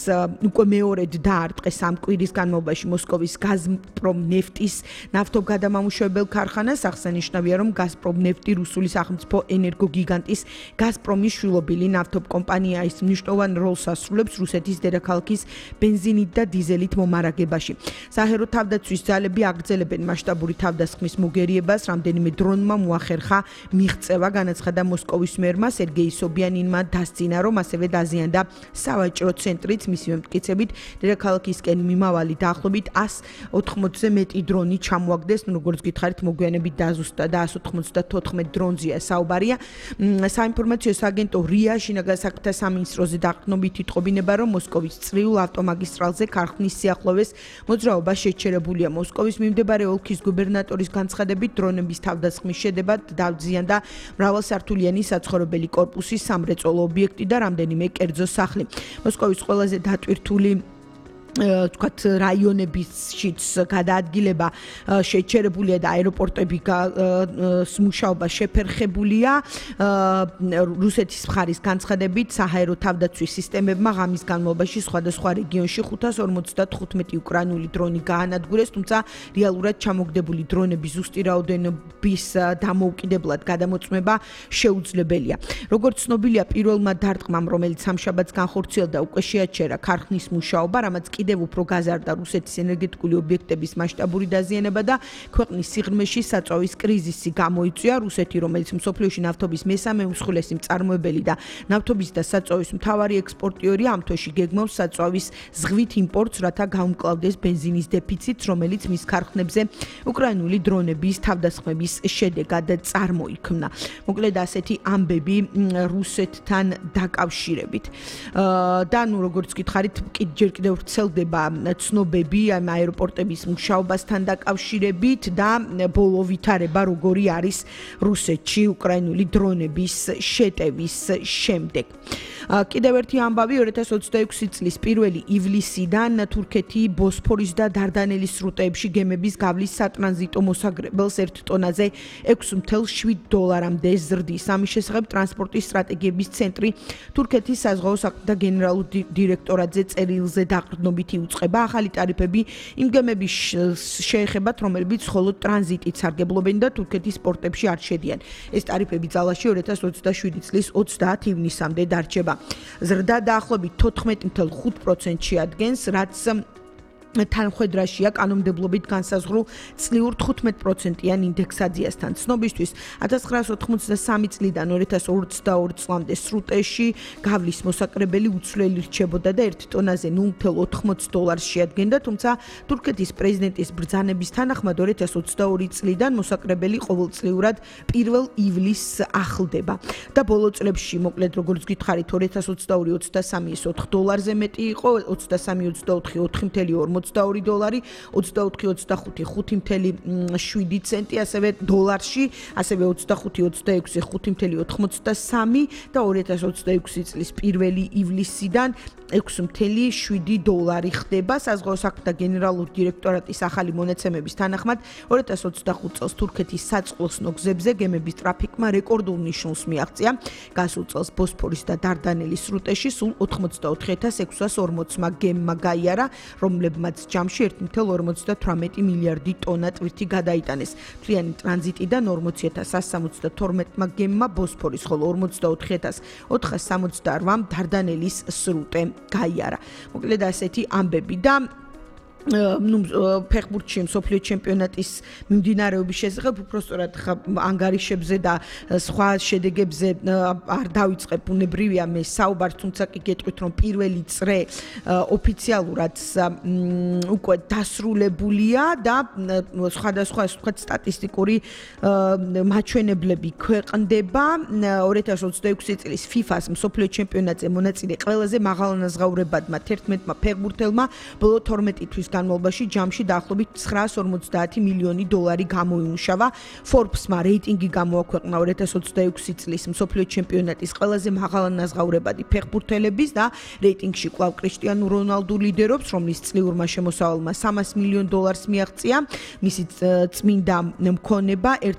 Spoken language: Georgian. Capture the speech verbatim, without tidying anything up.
უკვე მეორედ დაარტყეს ამ კვირის განმავლობაში მოსკოვის გაზპრომ ნეფტის ნავთობგადამამუშავებელ ქარხანას. აღსანიშნავია, რომ გაზპრომ ნეფტი რუსული სახელმწიფო ენერგოგიგანტის გაზპრომის შვილობილი ნავთობკომპანია. ის მნიშვნელოვან როლს ასრულებს რუსეთის დედაქალაქის ბენზინით და დიზელით მომარაგებაში. საჰერო თავდაცვის ძალები აგრძელებენ მასშტაბური თავდასხმის მოგერიებას. რამდენიმე დრონმა მოახერხა მიღწევა, განაცხადა მოსკოვის მერმა სერგეი სობიანინმა დასძინა, რომ ასევე დაზიანდა სავაჭრო ცენტრიც. მისი მტკიცებით, დედაქალაქისკენ მიმავალი დაახლოებით ას ოთხმოცზე მეტი დრონი ჩამოაგდეს, როგორც გითხარით, მოგვიანებით დაზუსტა და ას ოთხმოცდათოთხმეტ დრონზეა საუბარია. საინფორმაციო აგენტო რია შინაგან საქმეთა სამინისტროზე დაყრდნობით იტყობინება, რომ მოსკოვის წრიულ ავტომაგისტრალზე ქარხნის სიახლოვეს მოძრაობა შეჩერებულია. მოსკოვის მიმდებარე ოლქის გუბერნატორის განცხადებით, დრონების თავდასხმის შედეგად დაზიანდა მრავალსართულიანი საცხოვრებელი კორპუსის სამრეწველო ობიექტი და რამდენიმე კერძო სახლი. მოსკოვის ყველაზე დატვირთული თქვათ რაიონებშიც გადაადგილება შეჩერებულია და აეროპორტები მუშაობა შეფერხებულია. რუსეთის მხარის განცხადებით, საჰაერო თავდაცვის სისტემებმა ღამის განმავლობაში სხვადასხვა რეგიონში ხუთას ორმოცდათხუთმეტი უკრაინული დრონი გაანადგურეს, თუმცა რეალურად ჩამოგდებული დრონების ზუსტი რაოდენობის დამოუკიდებლად გადამოწმება შეუძლებელია. როგორც ცნობილია, პირველმა დარტყმამ, რომელიც სამშაბათს განხორციელდა, უკვე შეაჩერა ქარხნის მუშაობა, რამაც კიდევ უფრო გაზარდა რუსეთის ენერგეტიკული ობიექტების მასშტაბური დაზიანება და ქვეყნის სიღრმეში საწვავის კრიზისი გამოიწვია. რუსეთი, რომელიც მსოფლიოში ნავთობის მესამე უმსხვილესი მწარმოებელი და ნავთობის და საწვავის მთავარი ექსპორტიორია, ამ თვეში გეგმავს საწვავის ზღვით იმპორტს, რათა გაუმკლავდეს ბენზინის დეფიციტს, რომელიც მის ქარხნებზე უკრაინული დრონების თავდასხმების შედეგად წარმოიქმნა. მოკლედ ასეთი ამბები რუსეთთან დაკავშირებით. და ნუ როგორც გითხარით, ჯერ კიდევ ვრცელდება ცნობები ამ აეროპორტების მუშაობასთან დაკავშირებით და ბოლო ვითარება როგორი არის რუსეთში უკრაინული დრონების შეტევის შემდეგ. კიდევ ერთი ამბავი ორი ათას ოცდაექვსი წლის პირველი ივლისიდან თურქეთი ბოსფორის და დარდანელის სრუტეებში გემების გავლის სატრანზიტო მოსაგრებელს ერთ ტონაზე ექვსი ათას შვიდ დოლარამდე ზრდის. ამის შესახებ ტრანსპორტის სტრატეგიების ცენტრი თურქეთის საზღვაო საქმეთა გენერალურ დირექტორატზე წერილზე დაყრდნობით იუწყება. ახალი ტარიფები იმ გემების შეეხებათ, რომლებიც მხოლოდ ტრანზიტით სარგებლობენ და თურქეთის პორტებში არ შედიან. ეს ტარიფები ძალაში ორი ათას ოცდაშვიდი წლის ოცდაათი ივნისამდე დარჩება. ზრდა დაახლოებით თოთხმეტი ათეული ხუთი პროცენტი შეადგენს, რაც თანხვედრაშია კანონმდებლობით განსაზღვრულ წლიურ თხუთმეტ პროცენტიან ინდექსაციასთან. ცნობისთვის, ათას ცხრაასი ოთხმოცდასამი წლიდან ორი ათას ოცდაორი წლამდე სრუტეში გავლის მოსაკრებელი უცვლელი რჩებოდა და ერთ ტონაზე ნულ ათას ოთხმოცი დოლარს შეადგენდა, თუმცა თურქეთის პრეზიდენტის ბრძანების თანახმად ორი ათას ოცდაორი წლიდან მოსაკრებელი ყოველწლიურად პირველ ივლისს ახლდება. და ბოლო წლებში, მოკლედ როგორც გითხარით, ორი ათას ოცდაორი ოცდასამი ის ოთხ დოლარზე მეტი იყო, ოცდასამი ოცდაოთხი ოთხი ათეული ოცდაორი დოლარი, ოცდაოთხი ოცდახუთი ხუთი ათეული შვიდი ცენტი, ასევე დოლარში, ასევე ოცდახუთი ოცდაექვსი ხუთი ათეული ოთხმოცდასამი და ორი ათას ოცდაექვსი წლის პირველი ივლისიდან ექვსი ათეული შვიდი დოლარი ხდება. საზღვაო საქმეთა გენერალური დირექტორატის ახალი მონაცემების თანახმად, ორი ათას ოცდახუთი წელს თურქეთის საწყლოსნო გზებზე გემების ტრაფიკმა რეკორდულ ნიშნულს მიაღწია. გასულ წელს ბოსფორის და დარდანელის სრუტეში სულ ოთხმოცდაოთხი ათას ექვსას ორმოცმა გემმა გაიარა, რომლებმაც ჯამში ერთი ათეული ორმოცდათვრამეტი მილიარდი ტონა ტვირთი გადაიტანეს. მთლიანი ტრანზიტიდან ორმოცი ათას ასი სამოცდათორმეტმა გემმა ბოსფორის, ხოლო ორმოცდაოთხი ათას ოთხას სამოცდაოთხმ დარდანელის სრუტე გაიარა. მოკლედ ასეთი ამბები და ну ფეხბურთში მსოფლიო ჩემპიონატის მიმდინარეობის შესახებ უпростоრად ანგარიშებზე და სხვა შედეგებზე არ დავიწყებ, უნებრივია მე საუბარს, თუმცა კი გეტყვით, რომ პირველი წრე ოფიციალურად უკვე დასრულებულია და სხვადასხვა ასე ვთქვათ სტატისტიკური მაჩვენებლები ქვეყნდება. ორი ათას ოცდაექვსი წლის ფიფას მსოფლიო ჩემპიონატზე მონაწილე ყველაზე მაღალანაზღაურებადმა თერთმეტმა ფეხბურთელმა ბოლო თორმეტი თვის განმავლობაში ჯამში დაახლოებით ცხრაას ორმოცდაათი მილიონი დოლარი გამოიმუშავა. Forbes-მა რეიტინგი გამოაქვეყნა ორი ათას ოცდაექვსი წლის მსოფლიო ჩემპიონატის ყველაზე მაღალანაზღაურებადი ფეხბურთელების და რეიტინგში კვლავ კრისტიანო რონალდუ ლიდერობს, რომლის წლიურმა შემოსავალმა სამას მილიონ დოლარს მიაღწია. მისი წმინდა მქონება ერთ